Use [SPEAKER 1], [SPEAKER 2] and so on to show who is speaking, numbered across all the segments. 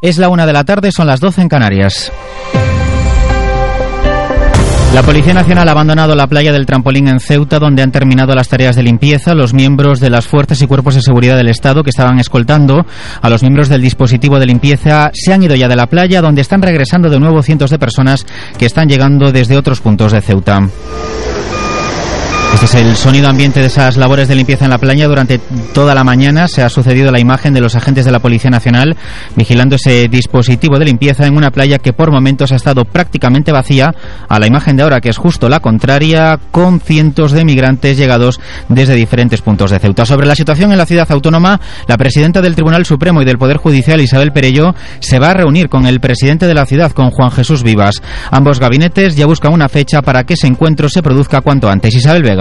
[SPEAKER 1] Es la 1 de la tarde, son las 12 en Canarias. La Policía Nacional ha abandonado la playa del Trampolín en Ceuta, donde han terminado las tareas de limpieza. Los miembros de las fuerzas y cuerpos de seguridad del Estado que estaban escoltando a los miembros del dispositivo de limpieza se han ido ya de la playa, donde están regresando de nuevo cientos de personas que están llegando desde otros puntos de Ceuta. Este es el sonido ambiente de esas labores de limpieza en la playa. Durante toda la mañana se ha sucedido la imagen de los agentes de la Policía Nacional vigilando ese dispositivo de limpieza en una playa que por momentos ha estado prácticamente vacía, a la imagen de ahora que es justo la contraria, con cientos de migrantes llegados desde diferentes puntos de Ceuta. Sobre la situación en la ciudad autónoma, la presidenta del Tribunal Supremo y del Poder Judicial, Isabel Perelló, se va a reunir con el presidente de la ciudad, con Juan Jesús Vivas. Ambos gabinetes ya buscan una fecha para que ese encuentro se produzca cuanto antes. Isabel Vega.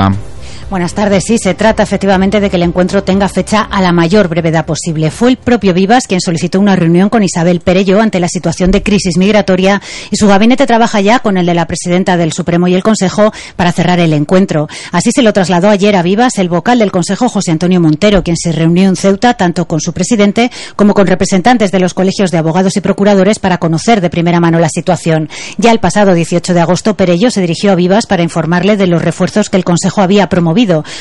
[SPEAKER 2] Buenas tardes. Sí, se trata efectivamente de que el encuentro tenga fecha a la mayor brevedad posible. Fue el propio Vivas quien solicitó una reunión con Isabel Perelló ante la situación de crisis migratoria y su gabinete trabaja ya con el de la presidenta del Supremo y el Consejo para cerrar el encuentro. Así se lo trasladó ayer a Vivas el vocal del Consejo, José Antonio Montero, quien se reunió en Ceuta tanto con su presidente como con representantes de los colegios de abogados y procuradores para conocer de primera mano la situación. Ya el pasado 18 de agosto, Perelló se dirigió a Vivas para informarle de los refuerzos que el Consejo había promovido.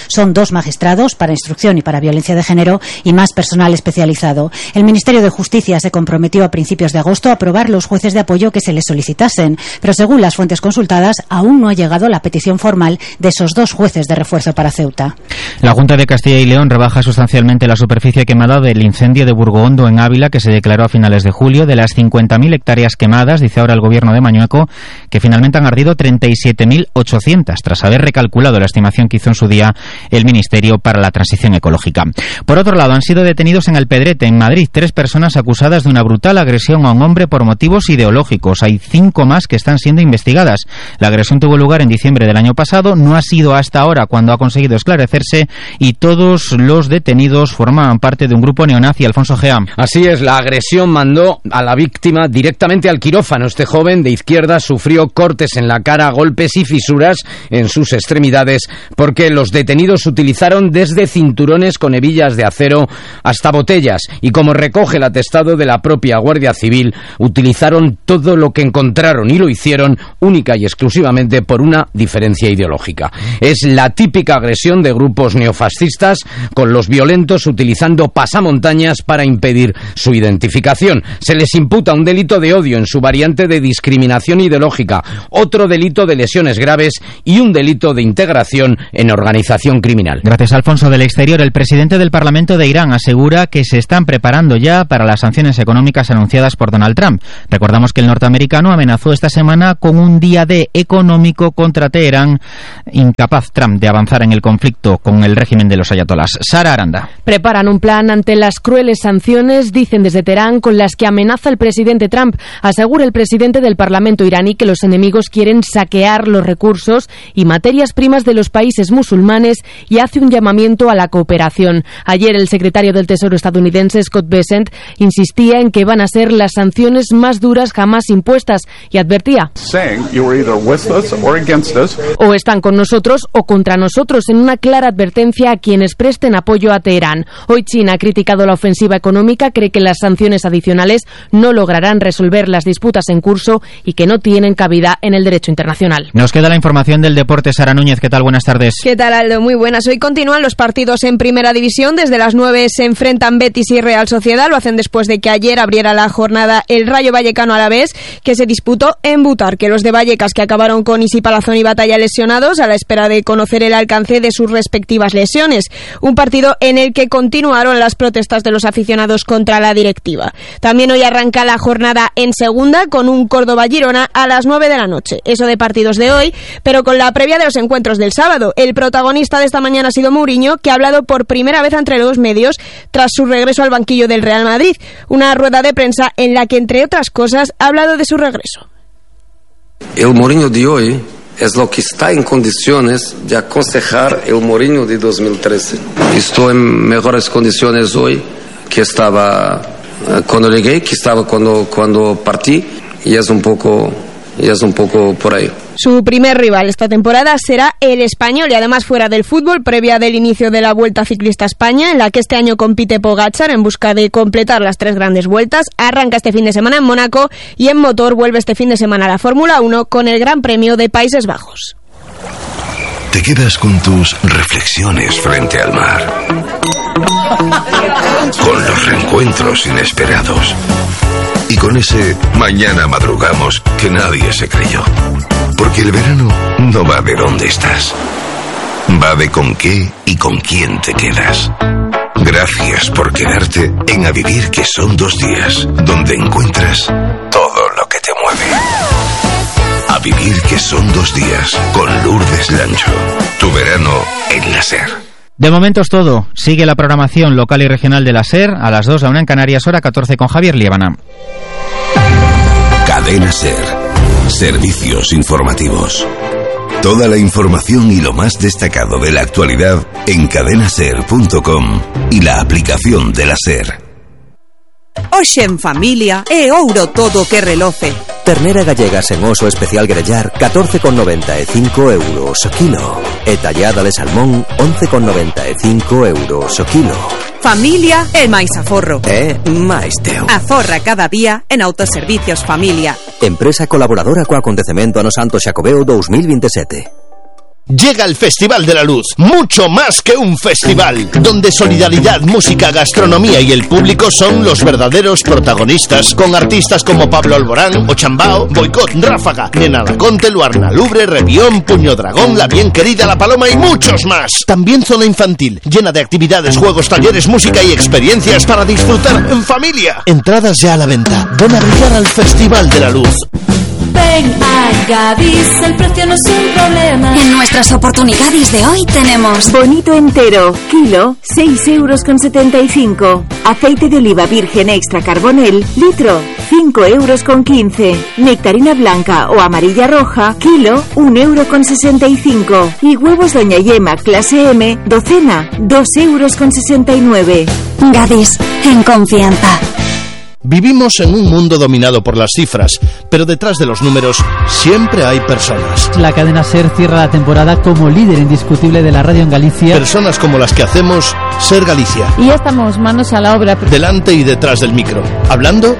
[SPEAKER 2] Son 2 magistrados para instrucción y para violencia de género y más personal especializado. El Ministerio de Justicia se comprometió a principios de agosto a aprobar los jueces de apoyo que se les solicitasen, pero según las fuentes consultadas aún no ha llegado la petición formal de esos 2 jueces de refuerzo para Ceuta.
[SPEAKER 1] La Junta de Castilla y León rebaja sustancialmente la superficie quemada del incendio de Burgohondo en Ávila, que se declaró a finales de julio. De las 50.000 hectáreas quemadas, dice ahora el gobierno de Mañueco que finalmente han ardido 37.800, tras haber recalculado la estimación que hizo en su día el Ministerio para la Transición Ecológica. Por otro lado, han sido detenidos en Alpedrete, en Madrid, 3 personas acusadas de una brutal agresión a un hombre por motivos ideológicos. Hay 5 más que están siendo investigadas. La agresión tuvo lugar en diciembre del año pasado, no ha sido hasta ahora cuando ha conseguido esclarecerse, y todos los detenidos formaban parte de un grupo neonazi. Alfonso Gea.
[SPEAKER 3] Así es, la agresión mandó a la víctima directamente al quirófano. Este joven de izquierda sufrió cortes en la cara, golpes y fisuras en sus extremidades, porque los detenidos utilizaron desde cinturones con hebillas de acero hasta botellas, y como recoge el atestado de la propia Guardia Civil, utilizaron todo lo que encontraron y lo hicieron única y exclusivamente por una diferencia ideológica. Es la típica agresión de grupos neofascistas, con los violentos utilizando pasamontañas para impedir su identificación. Se les imputa un delito de odio en su variante de discriminación ideológica, otro delito de lesiones graves y un delito de integración en organización criminal.
[SPEAKER 1] Gracias, Alfonso. Del exterior, el presidente del Parlamento de Irán asegura que se están preparando ya para las sanciones económicas anunciadas por Donald Trump. Recordamos que el norteamericano amenazó esta semana con un día D económico contra Teherán, incapaz Trump de avanzar en el conflicto con el régimen de los ayatolás. Sara Aranda.
[SPEAKER 4] Preparan un plan ante las crueles sanciones, dicen desde Teherán, con las que amenaza el presidente Trump. Asegura el presidente del Parlamento iraní que los enemigos quieren saquear los recursos y materias primas de los países musulmanes y hace un llamamiento a la cooperación. Ayer el secretario del Tesoro estadounidense, Scott Bessent, insistía en que van a ser las sanciones más duras jamás impuestas y advertía: o están con nosotros o contra nosotros, en una clara advertencia a quienes presten apoyo a Teherán. Hoy China ha criticado la ofensiva económica, cree que las sanciones adicionales no lograrán resolver las disputas en curso y que no tienen cabida en el derecho internacional.
[SPEAKER 1] Nos queda la información del deporte. Sara Núñez, ¿qué tal? Buenas tardes.
[SPEAKER 5] ¿Qué tal, Aldo? Muy buenas. Hoy continúan los partidos en Primera División. Desde las 9 se enfrentan Betis y Real Sociedad. Lo hacen después de que ayer abriera la jornada el Rayo Vallecano Alavés, que se disputó en Butarque. Los de Vallecas, que acabaron con Isi Palazón y Batalla lesionados a la espera de conocer el alcance de sus respectivas lesiones. Un partido en el que continuaron las protestas de los aficionados contra la directiva. También hoy arranca la jornada en Segunda con un Córdoba-Girona a las 9 de la noche. Eso de partidos de hoy, pero con la previa de los encuentros del sábado. El protagonista de esta mañana ha sido Mourinho, que ha hablado por primera vez entre los medios tras su regreso al banquillo del Real Madrid. Una rueda de prensa en la que, entre otras cosas, ha hablado de su regreso.
[SPEAKER 6] El Mourinho de hoy es lo que está en condiciones de aconsejar el Mourinho de 2013. Estoy en mejores condiciones hoy que estaba cuando llegué, que estaba cuando partí, y es un poco por ahí.
[SPEAKER 5] Su primer rival esta temporada será el Español y además fuera del fútbol, previa del inicio de la Vuelta Ciclista a España, en la que este año compite Pogačar en busca de completar las 3 grandes vueltas. Arranca este fin de semana en Mónaco y en motor vuelve este fin de semana a la Fórmula 1 con el Gran Premio de Países Bajos.
[SPEAKER 7] Te quedas con tus reflexiones frente al mar, con los reencuentros inesperados y con ese mañana madrugamos que nadie se creyó. Porque el verano no va de dónde estás, va de con qué y con quién te quedas. Gracias por quedarte en A Vivir, que son 2 días, donde encuentras todo lo que te mueve. A Vivir, que son 2 días, con Lourdes Lancho. Tu verano en la SER.
[SPEAKER 1] De momento es todo. Sigue la programación local y regional de la SER a las 2, la 1 en Canarias, hora 14 con Javier Liébana.
[SPEAKER 7] Cadena SER. Servicios informativos. Toda la información y lo más destacado de la actualidad en cadenaser.com y la aplicación de la SER.
[SPEAKER 8] Hoxe en familia é ouro todo que reloce.
[SPEAKER 9] Ternera gallega sen oso especial grellar 14,95 euros o kilo. E tallada de salmón 11,95 euros o kilo.
[SPEAKER 8] Familia e máis aforro.
[SPEAKER 9] É máis teu.
[SPEAKER 8] Aforra cada día en Autoservicios Familia.
[SPEAKER 9] Empresa colaboradora co acontecemento Ano Santo Xacobeo 2027.
[SPEAKER 10] Llega el Festival de la Luz, mucho más que un festival, donde solidaridad, música, gastronomía y el público son los verdaderos protagonistas, con artistas como Pablo Alborán, Ochambao, Boicot, Ráfaga, Nena Laconte, Luarna Lubre, Revión, Puño Dragón, La Bien Querida, La Paloma y muchos más. También zona infantil, llena de actividades, juegos, talleres, música y experiencias para disfrutar en familia. Entradas ya a la venta. Ven a brillar al Festival de la Luz.
[SPEAKER 11] Ven a Gadis, el precio no es un problema. En nuestras oportunidades de hoy tenemos
[SPEAKER 12] bonito entero, kilo, 6,75 €. Aceite de oliva virgen extra carbonel, litro, 5,15 €. Nectarina blanca o amarilla roja, kilo, 1,65 €. Y huevos Doña Yema clase M, docena, 2,69 €.
[SPEAKER 11] Gadis, en confianza.
[SPEAKER 10] Vivimos en un mundo dominado por las cifras, pero detrás de los números siempre hay personas.
[SPEAKER 13] La cadena SER cierra la temporada como líder indiscutible de la radio en Galicia.
[SPEAKER 10] Personas como las que hacemos SER Galicia.
[SPEAKER 14] Y ya estamos manos a la obra.
[SPEAKER 10] Delante y detrás del micro, hablando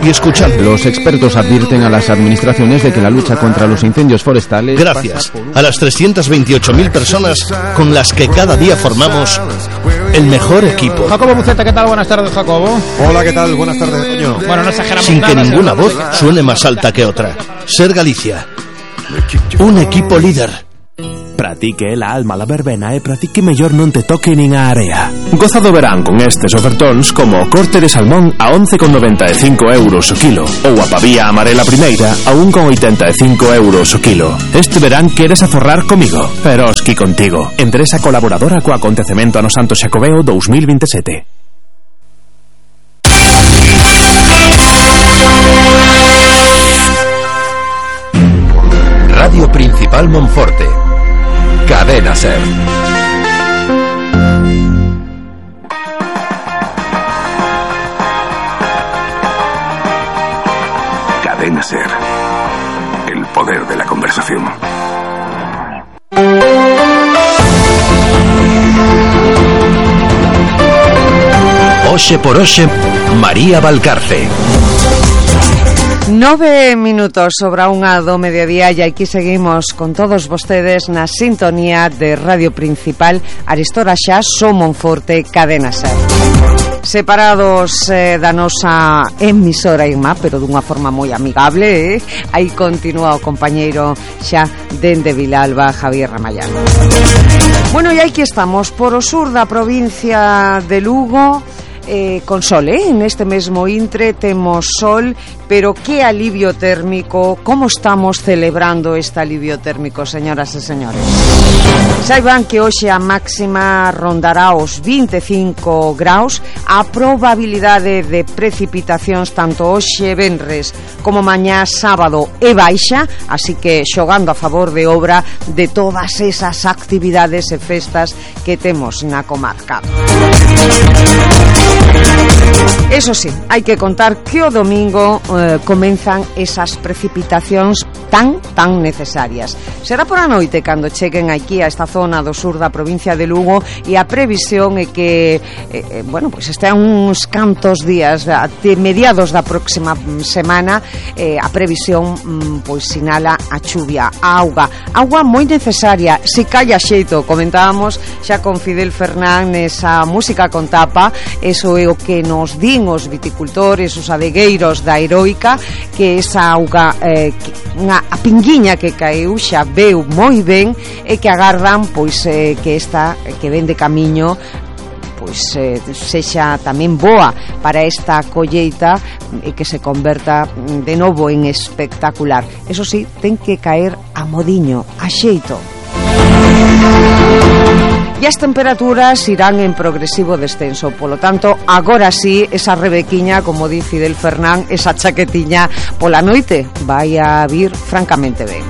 [SPEAKER 10] y escuchando.
[SPEAKER 15] Los expertos advierten a las administraciones de que la lucha contra los incendios forestales...
[SPEAKER 10] Gracias a las 328.000 personas con las que cada día formamos el mejor equipo.
[SPEAKER 16] Jacobo Buceta, ¿qué tal? Buenas tardes, Jacobo.
[SPEAKER 17] Hola, ¿qué tal? Buenas tardes, Toño.
[SPEAKER 16] Bueno, no exageramos
[SPEAKER 10] sin
[SPEAKER 16] nada,
[SPEAKER 10] que ninguna voz suene más alta que otra. SER Galicia. Un equipo líder.
[SPEAKER 18] Para ti que é la alma la verbena e para ti que mellor non te toque nin a area. Goza do verán con estes ofertóns como o corte de salmón a 11,95 € o kilo ou a pavía amarela primeira a 1,85 € o kilo. Este verán queres aforrar comigo, pero oski contigo. Empresa colaboradora co acontecemento Ano Santo Xacobeo 2027.
[SPEAKER 7] Radio Principal Monforte. Cadena SER. Cadena SER. El poder de la conversación. Oxe por Oxe, María Valcarce.
[SPEAKER 19] 9 minutos sobre a 1 do mediodía e aquí seguimos con todos vostedes na sintonía de Radio Principal. Aristora xa, So Monforte, Cadena SER. Separados da nosa emisora Inma, pero dunha forma moi amigable, aí continúa o compañeiro xa dende Vilalba, Javier Ramayán. Bueno, e aquí estamos por o sur da provincia de Lugo, con sol, neste mesmo intre temos sol, pero que alivio térmico. Como estamos celebrando este alivio térmico, señoras e señores? Saiban que hoxe a máxima rondará os 25 graus. A probabilidade de precipitacións tanto hoxe venres como mañá sábado é baixa, así que xogando a favor de obra de todas esas actividades e festas que temos na comarca. Eso sí, hai que contar que o domingo comenzan esas precipitacións tan necesarias. Será por a noite cando cheguen aquí a esta zona do sur da provincia de Lugo, e a previsión é que pois estean uns cantos días de mediados da próxima semana. A previsión pois sinala a chuvia, a auga moi necesaria, se calla xeito. Comentábamos xa con Fidel Fernández esa música con tapa, eso é o que nos din os viticultores, os adegueiros da Heroica, que esa auga a pinguiña que caeu xa veu moi ben, e que agardan pois que esta que ven de camiño pois sexa tamén boa para esta colleita e que se converta de novo en espectacular. Eso sí, ten que caer a modiño, a xeito. E as temperaturas irán en progresivo descenso. Polo tanto, agora sí, esa rebequiña, como di Fidel Fernán, esa chaquetiña pola noite vai a vir francamente ben.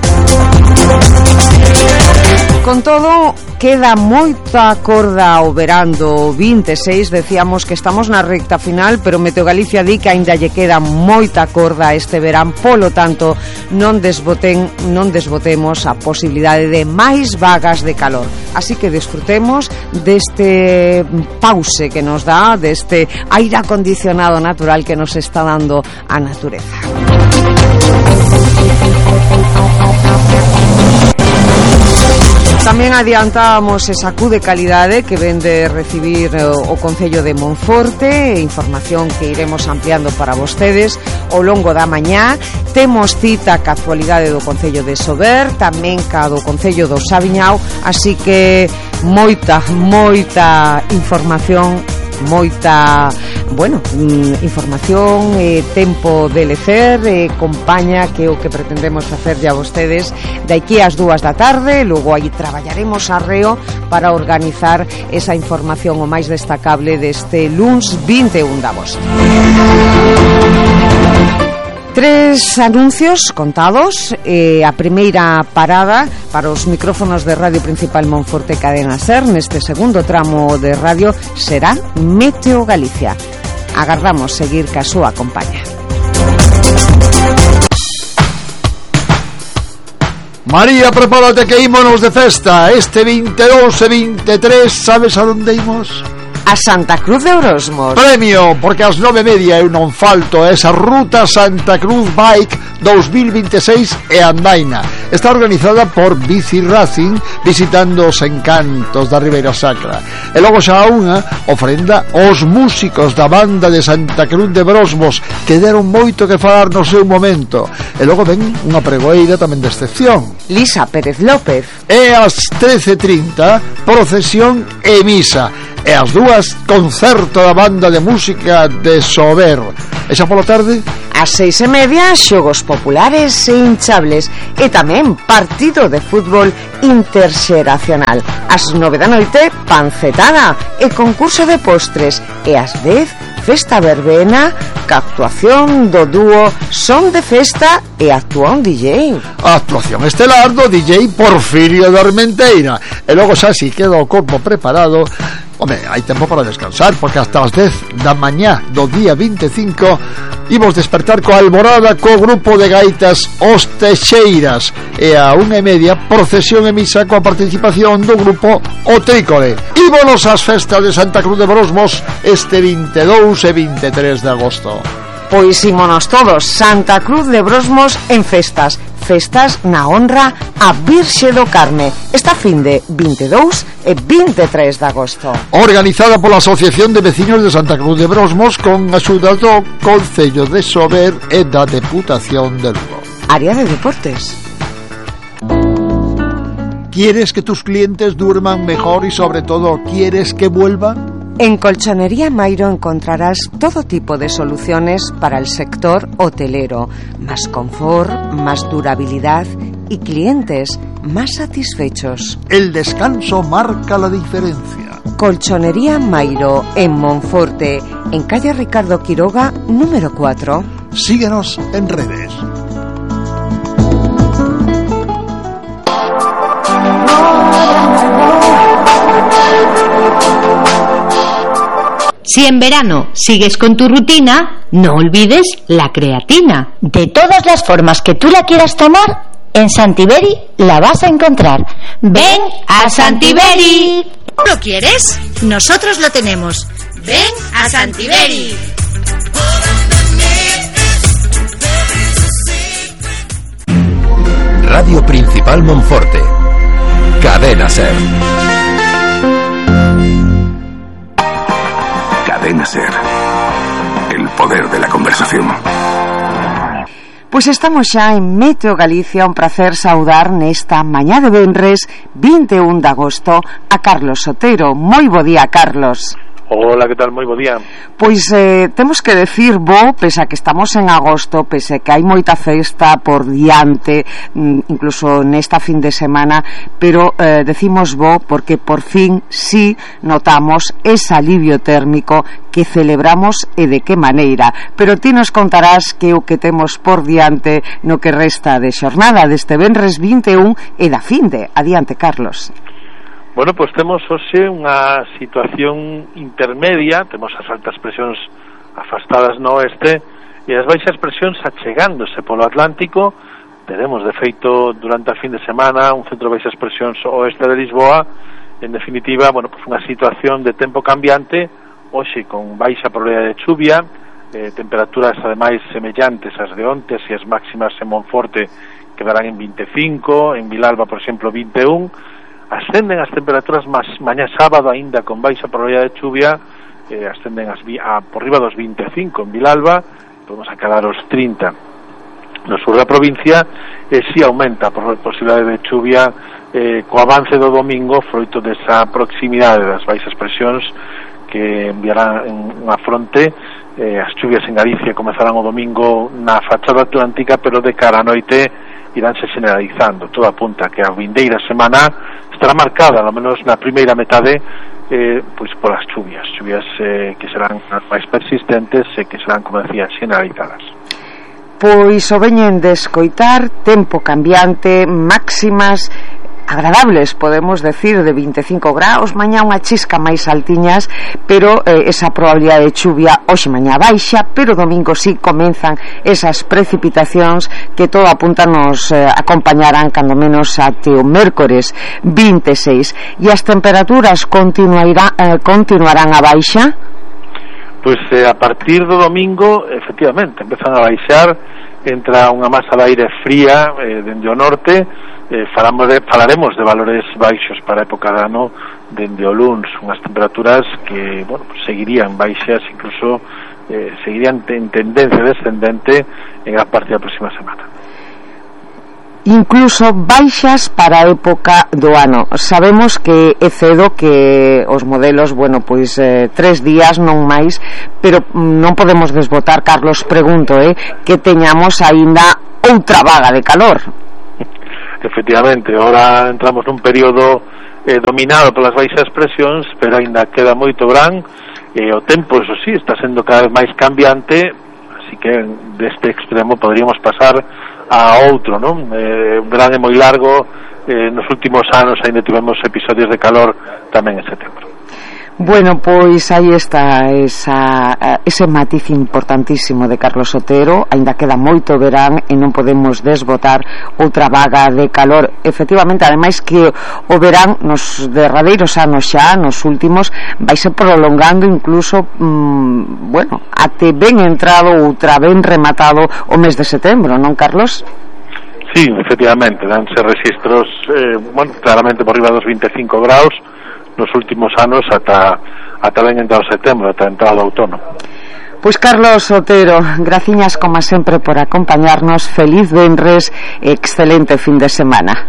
[SPEAKER 19] Con todo, queda moita corda ao verán do 26. Decíamos que estamos na recta final, pero Meteo Galicia di que aínda lle queda moita corda este verán. Polo tanto, non desbotemos a posibilidade de máis vagas de calor. Así que disfrutemos deste pause que nos dá, deste aire acondicionado natural que nos está dando a natureza. Tamén adiantábamos esa Q de calidade que ven de recibir o Concello de Monforte, información que iremos ampliando para vostedes ao longo da mañá. Temos cita ca actualidade do Concello de Sober, tamén ca do Concello do Sabiñao, así que moita información, información, tempo de lecer, compaña, que é o que pretendemos facer a vostedes de aquí ás 2 da tarde. Logo aí traballaremos arreo para organizar esa información o máis destacable deste luns 21 de agosto. 3 anuncios contados. A primeira parada para os micrófonos de Radio Principal Monforte Cadena Ser neste segundo tramo de radio será Meteo Galicia. Agardamos seguir ca súa compañía.
[SPEAKER 17] María, prepárate que ímonos de festa. Este 22 e 23, sabes a onde imos?
[SPEAKER 19] A Santa Cruz de Brosmos.
[SPEAKER 17] Premio, porque ás 9:30 eu non falto. Esa Ruta Santa Cruz Bike 2026 e andaina. Está organizada por Bici Racing, visitando os encantos da Ribeira Sacra. E logo xa unha ofrenda aos músicos da banda de Santa Cruz de Brosmos, que deron moito que falar no seu momento. E logo ven unha pregoeira tamén de excepción,
[SPEAKER 19] Lisa Pérez López.
[SPEAKER 17] E ás 13:30 procesión e misa. E ás 2 concerto da banda de música de Sober. E xa pola tarde,
[SPEAKER 19] ás 6:30 xogos populares e hinchables, e tamén partido de fútbol interxeracional. Ás 9 da noite, pancetada e concurso de postres, e ás 10 festa verbena ca actuación do dúo Son de Festa e actúa un DJ.
[SPEAKER 17] A actuación estelar do DJ Porfirio de Armenteira. E logo xa si queda o corpo preparado. Home, hai tempo para descansar, porque hasta as 10 da mañá do día 25 imos despertar coa alborada co grupo de gaitas Os Texeiras, e a 1:30 procesión e misa coa participación do grupo O Trícore. Ímonos ás festas de Santa Cruz de Brosmos este 22 e 23 de agosto.
[SPEAKER 19] Pois ímonos todos. Santa Cruz de Brosmos en festas na honra a Virxe do Carme, esta fin de 22 e 23 de agosto.
[SPEAKER 17] Organizada pola Asociación de Vecinos de Santa Cruz de Brosmos, con axuda do Concello de Sober e da Deputación de Lugo.
[SPEAKER 19] Área de deportes.
[SPEAKER 17] ¿Quieres que tus clientes duerman mejor y sobre todo quieres que vuelvan?
[SPEAKER 19] En Colchonería Mairo encontrarás todo tipo de soluciones para el sector hotelero, más confort, más durabilidad y clientes más satisfechos.
[SPEAKER 17] El descanso marca la diferencia.
[SPEAKER 19] Colchonería Mairo en Monforte, en calle Ricardo Quiroga, número 4.
[SPEAKER 17] Síguenos en redes.
[SPEAKER 20] Si en verano sigues con tu rutina, no olvides la creatina.
[SPEAKER 21] De todas las formas que tú la quieras tomar, en Santiberi la vas a encontrar.
[SPEAKER 20] ¡Ven a Santiberi!
[SPEAKER 21] ¿Lo quieres? Nosotros lo tenemos. ¡Ven a Santiberi!
[SPEAKER 9] Radio Principal Monforte. Cadena Ser.
[SPEAKER 7] Cadena Ser. El poder de la conversación.
[SPEAKER 19] Pois estamos xa en Meteo Galicia, un placer saudar nesta mañá de venres 21 de agosto a Carlos Otero. Moi bo día, Carlos.
[SPEAKER 22] Hola, que tal? Moi bo día.
[SPEAKER 19] Pois temos que decir pese a que estamos en agosto, pese a que hai moita festa por diante, incluso nesta fin de semana, pero decimos porque por fin sí notamos ese alivio térmico que celebramos e de que maneira. Pero ti nos contarás que o que temos por diante no que resta de xornada deste venres 21 e da finde. Adiante, Carlos.
[SPEAKER 22] Bueno, pois temos hoxe unha situación intermedia, temos as altas presións afastadas no oeste e as baixas presións achegándose polo Atlántico. Teremos, de feito, durante a fin de semana un centro de baixas presións oeste de Lisboa. En definitiva, bueno, pois unha situación de tempo cambiante, hoxe con baixa probabilidade de chuvia, temperaturas ademais semellantes ás de onte, e as máximas en Monforte quedarán en 25, en Vilalba, por exemplo, 21. Ascenden as temperaturas mañá sábado aínda con baixa probabilidade de chuvia, ascenden por riba dos 25 en Vilalba, podemos acadar os 30 no sur da provincia, e si aumenta por posibilidade de chuvia co avance do domingo, froito desa proximidade das baixas presións que enviarán unha fronte. As chuvias en Galicia comezarán o domingo na fachada atlántica, pero de cara a noite iránse generalizando. Todo apunta que a vindeira semana estará marcada, ao menos na primeira metade, pois polas chuvias que serán máis persistentes e que serán, como decía, generalizadas.
[SPEAKER 19] Pois o veñen de escoitar, tempo cambiante, máximas agradables, podemos decir, de 25 graus, mañá unha chisca máis altiñas, pero esa probabilidade de chuvia hoxe mañá baixa, pero domingo sí comenzan esas precipitacións que todo apunta nos acompañarán cando menos até o mércores 26. E as temperaturas continuarán a baixa?
[SPEAKER 22] Pois a partir do domingo, efectivamente, empezan a baixar, entra unha masa de aire fría dende o norte. Falaremos de valores baixos para a época de ano dende o luns, unhas temperaturas que, bueno, pues seguirían baixas, incluso seguirían en tendencia descendente en a parte da próxima semana.
[SPEAKER 19] Incluso baixas para a época do ano. Sabemos que é cedo, que os modelos, bueno, pois 3 días, non máis, pero non podemos desbotar, Carlos, pregunto, que teñamos aínda outra vaga de calor.
[SPEAKER 22] Efectivamente, ahora entramos nun período dominado polas baixas presións, pero aínda queda moito verán, o tempo, eso sí, está sendo cada vez máis cambiante, así que deste extremo poderíamos pasar a outro, non? O verán é moi largo, nos últimos anos aínda tivemos episodios de calor tamén en setembro.
[SPEAKER 19] Bueno, pois aí está ese matiz importantísimo de Carlos Otero. Aínda queda moito verán e non podemos desbotar outra vaga de calor. Efectivamente, ademais que o verán nos derradeiros anos xa, nos últimos, vaise prolongando incluso bueno, até ben entrado outra ben rematado o mes de setembro, non, Carlos?
[SPEAKER 22] Sí, efectivamente, danse registros bueno, claramente por riba dos 25 graus nos últimos anos ata ben entrado setembro, ata entrado outono.
[SPEAKER 19] Pois Carlos Otero, graciñas como sempre por acompañarnos. Feliz venres e excelente fin de semana.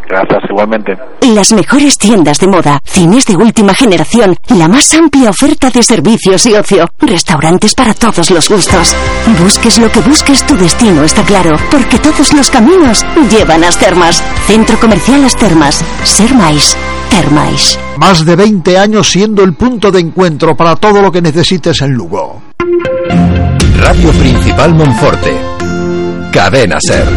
[SPEAKER 22] Gracias, igualmente.
[SPEAKER 11] Las mejores tiendas de moda, cines de última generación, la más amplia oferta de servicios y ocio, restaurantes para todos los gustos. Busques lo que busques, tu destino está claro, porque todos los caminos llevan a As Termas. Centro Comercial As Termas. Ser máis. Termais.
[SPEAKER 17] Más de 20 años siendo el punto de encuentro para todo lo que necesites en Lugo.
[SPEAKER 9] Radio Principal Monforte. Cadena Ser.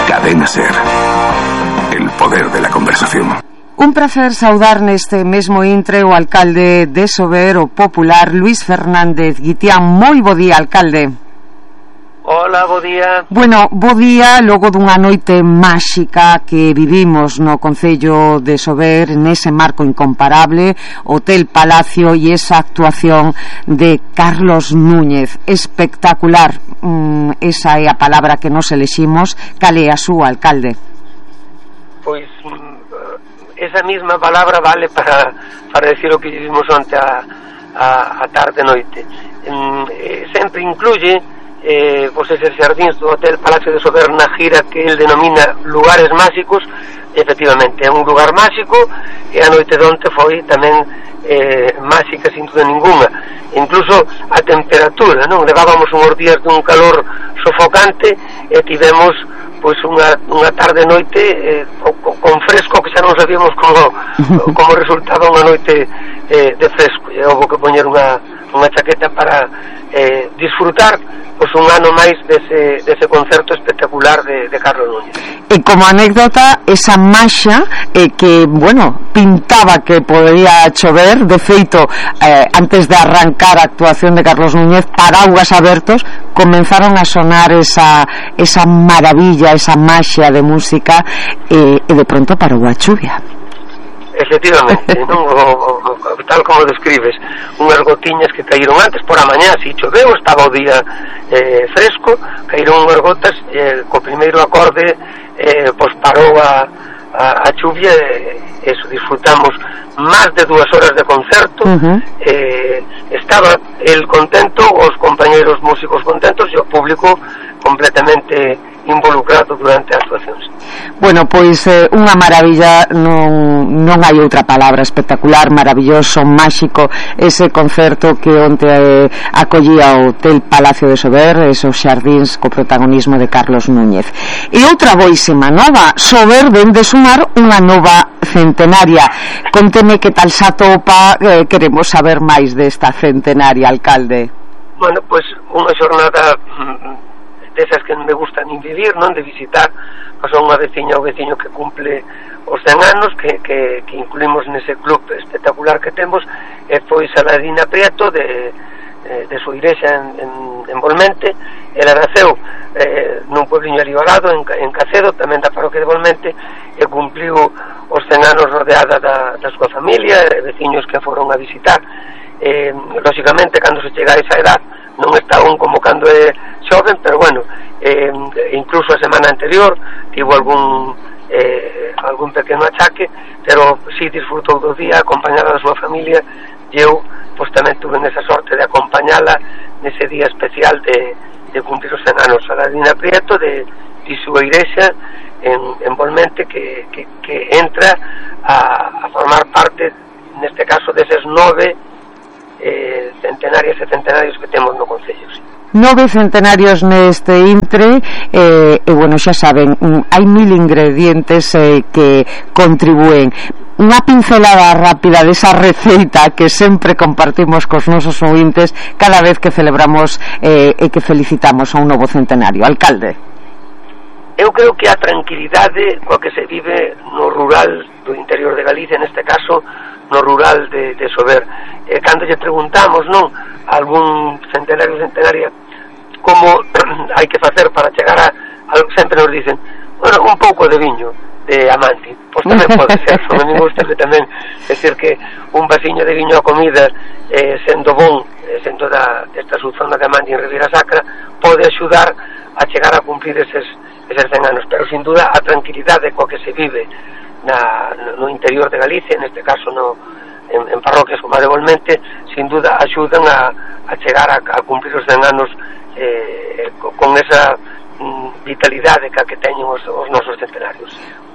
[SPEAKER 7] Cadena Ser. poder de la conversación.
[SPEAKER 19] Un placer saudar neste mesmo intre o alcalde de Sober, o popular Luís Fernández Guitián. Moi bo día, alcalde.
[SPEAKER 2] Hola, bo día.
[SPEAKER 19] Bueno, bo día logo dunha noite máxica que vivimos no Concello de Sober, nese marco incomparable, Hotel Palacio e esa actuación de Carlos Núñez. Espectacular, esa é a palabra que nos eleximos. Cal é a súa, alcalde?
[SPEAKER 2] Pois esa misma palabra vale para decir o que vivimos onte a tarde-noite. Sempre incluye pois eses xardíns do Hotel Palacio de Sober na gira que el denomina lugares máxicos. Efectivamente, é un lugar máxico, e a noite de onte foi tamén máxica sin duda ninguna. Incluso a temperatura, non? Levábamos uns días dun calor sofocante e tivemos pois unha tarde noite con fresco, que xa non sabíamos como resultaba unha noite de fresco, e houve que poñer unha chaqueta para disfrutar pois un ano máis dese concerto espectacular de Carlos Núñez.
[SPEAKER 19] E como anécdota, esa maxia que, bueno, pintaba que podría chover, de feito, antes de arrancar a actuación de Carlos Núñez, paraguas abertos, comenzaron a sonar esa maravilla, esa maxia de música, e de pronto parou a chuvia.
[SPEAKER 2] Efectivamente, non? Tal como describes, unhas gotiñas que caíron antes por a mañá, si choveu, estaba o día fresco, caíron unhas gotas, co primeiro acorde pois parou a chuvia, eso, disfrutamos máis de 2 horas de concerto. Estaba el contento, os compañeros músicos contentos e o público completamente involucrado durante as actuacións.
[SPEAKER 19] Bueno, pois unha maravilla, non hai outra palabra. Espectacular, maravilloso, máxico ese concerto que onte acollía o Hotel Palacio de Sober, esos xardíns co protagonismo de Carlos Núñez. E outra boísima nova, Sober ven de sumar unha nova centenaria. Conteme que tal xa topa, queremos saber máis desta centenaria, alcalde.
[SPEAKER 2] Bueno, pois unha xornada desas que me gusta nin vivir, non? De visitar a unha veciña ou veciño que cumple os 100 anos, que incluímos nese club espectacular que temos, e foi Saladina Prieto de súa igrexa en Volmente. Ela naceu nun puebliño alivagado en Cacedo, tamén da parroquia de Volmente, e cumpliu os 100 anos rodeada da súa familia, veciños que foron a visitar. Lógicamente, cando se chega a esa edad, non está aún como cando é xoven, pero bueno, incluso a semana anterior tivo algún pequeno achaque, pero si disfrutou do día acompañada da súa familia, e eu pois tamén tuve esa sorte de acompañala nese día especial de cumplir os 100 anos. Saladina Prieto de súa igrexa en Volmente, que entra a formar parte, neste caso, deses 9 centenarias e centenarios que temos no Concello.
[SPEAKER 19] 9 centenarios neste intre, e bueno, xa saben, hai 1000 ingredientes que contribúen. Unha pincelada rápida desa receita que sempre compartimos cos nosos ouvintes cada vez que celebramos e que felicitamos a un novo centenario. Alcalde.
[SPEAKER 2] Eu creo que a tranquilidade coa que se vive no rural do interior de Galicia, neste caso no rural de Sober, cando lle preguntamos, non, a algún centenario ou centenaria como hai que facer para chegar a sempre nos dicen, bueno, un pouco de viño de Amanti. Pois tamén pode ser, non me gusta tamén decir que un vasiño de viño a comida, sendo bon, sendo desta subzona de Amanti en Ribeira Sacra, pode axudar a chegar a cumplir eses 100 anos, pero sin duda a tranquilidade coa que se vive no interior de Galicia, neste caso en parroquias como a de Volmente, sin duda axudan a chegar a cumplir os 100 anos con esa vitalidade que teñen os nosos centenarios.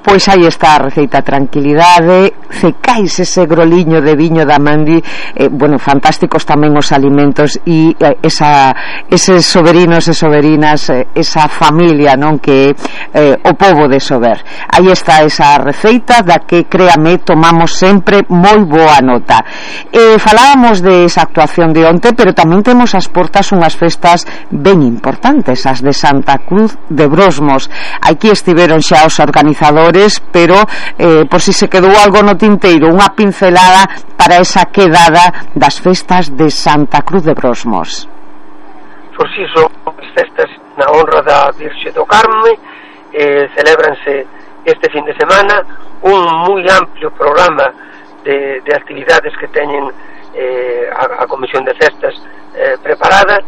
[SPEAKER 19] Pois aí está a receita, tranquilidade, cecais ese groliño de viño da Mandi, bueno, fantásticos tamén os alimentos e eses soberinos e soberinas, esa familia, non, que o pobo de Sober. Aí está esa receita da que, créame, tomamos sempre moi boa nota. Falábamos de esa actuación de onte, pero tamén temos as portas unhas festas ben importantes, as de Santa Cruz de Brosmos. Aquí estiveron xa os organizadores maiores, pero por si se quedou algo no tinteiro, unha pincelada para esa quedada das festas de Santa Cruz de Brosmos.
[SPEAKER 2] Por si son as festas na honra da Virxe do Carme, celébranse este fin de semana un moi amplio programa de actividades que teñen a Comisión de Festas preparada,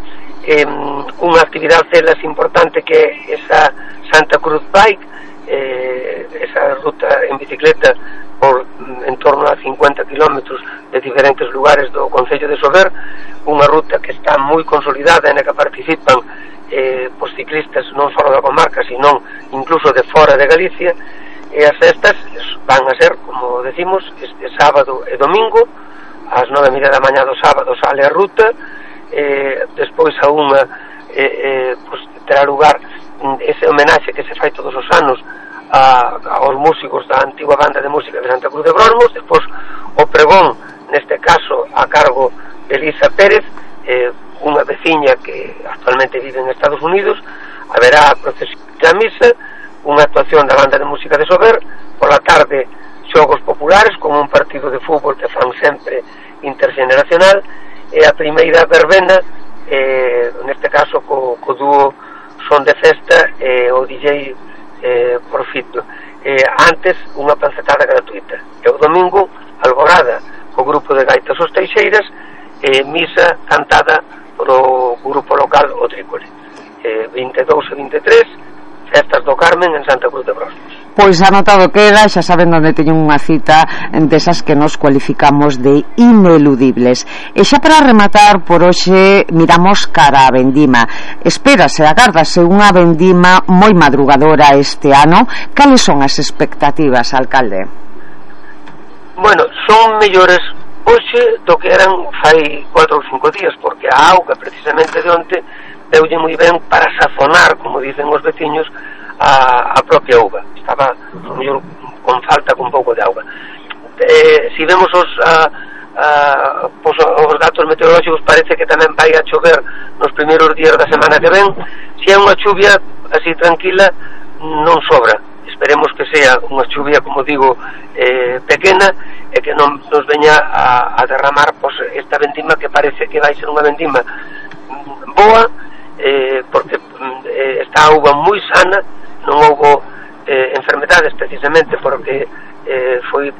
[SPEAKER 2] unha actividade delas importante que é esa Santa Cruz Bike, esa ruta en bicicleta por en torno a 50 kilómetros de diferentes lugares do Concello de Sober, unha ruta que está moi consolidada en a que participan os ciclistas non só da comarca, sino incluso de fora de Galicia, e as festas van a ser, como decimos, este sábado e domingo, ás 9:30 da mañá do sábado sale a ruta, despois a unha terá lugar ese homenaxe que se fai todos os anos aos músicos da antigua banda de música de Santa Cruz de Brosmos, despois o pregón, neste caso a cargo de Elisa Pérez, unha veciña que actualmente vive en Estados Unidos, haberá a procesión da misa, unha actuación da banda de música de Sober, pola tarde xogos populares con un partido de fútbol que fan sempre intergeneracional, e a primeira verbena, neste caso co dúo Son de Festa e o DJ Profito. Antes unha pancetada gratuita, e o domingo alborada co grupo de gaitas Os Teixeiras e misa cantada polo grupo local O Trícole. 22 e 23 festas do Carmen en Santa Cruz de Brosmos.
[SPEAKER 19] Pois anotado queda, xa saben onde teñen unha cita desas que nos cualificamos de ineludibles. E xa para rematar por hoxe miramos cara a vendima. Espérase, agárdase unha vendima moi madrugadora este ano. Cales son as expectativas, alcalde?
[SPEAKER 2] Bueno, son mellores hoxe do que eran fai 4 ou 5 días, porque a auga precisamente de onte deulle moi ben para sazonar, como dicen os veciños, a propia uva. Estaba mellor con falta, con pouco de auga. Si vemos os datos meteorolóxicos, parece que tamén vai a chover nos primeiros días da semana que ven. Se é unha chuvia así tranquila, non sobra. Esperemos que sea unha chuvia, como digo, pequena, e que non nos veña a derramar esta vendima, que parece que vai ser unha vendima boa, porque está a uva moi sana, non houbo enfermedades precisamente porque foi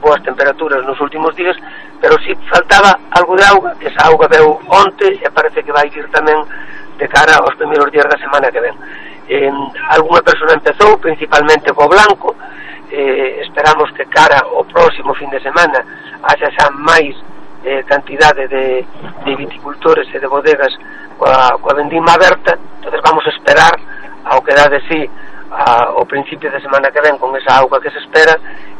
[SPEAKER 2] boas temperaturas nos últimos días, pero si faltaba algo de auga, que esa auga veu onte e parece que vai ir tamén de cara aos primeiros días da semana que ven. Alguna persona empezou principalmente co blanco, esperamos que cara ao próximo fin de semana haxa xa máis cantidade de viticultores e de bodegas coa vendima aberta. Entonces vamos a esperar ao que dá de sí ao principio de semana que ven con esa auga que se espera,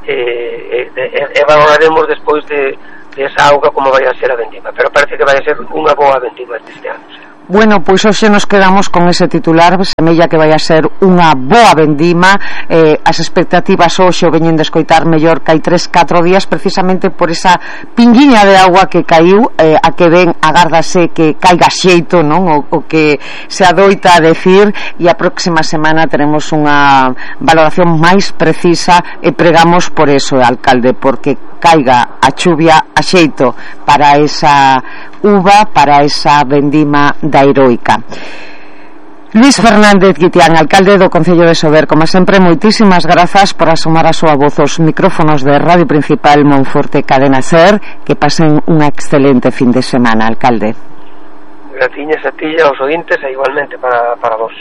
[SPEAKER 2] e valoraremos despois de esa auga como vai a ser a vendima, pero parece que vai a ser unha boa vendima este ano.
[SPEAKER 19] Bueno, pois hoxe nos quedamos con ese titular, semella que vai a ser unha boa vendima. As expectativas hoxe o veñen de escoitar mellor que hai 3-4 días, precisamente por esa pinguiña de agua que caiu, a que ven agárdase que caiga xeito, non? O que se adoita a decir, e a próxima semana teremos unha valoración máis precisa, e pregamos por eso, alcalde, porque caiga a chuvia a xeito para esa uva, para esa vendima da heroica. Luis Fernández Guitián, alcalde do Concello de Sober, como sempre, moitísimas grazas por asomar a súa voz aos micrófonos de Radio Principal Monforte Cadena Ser. Que pasen unha excelente fin de semana, alcalde.
[SPEAKER 2] Gratiñas a ti e aos ointes, e igualmente para vos.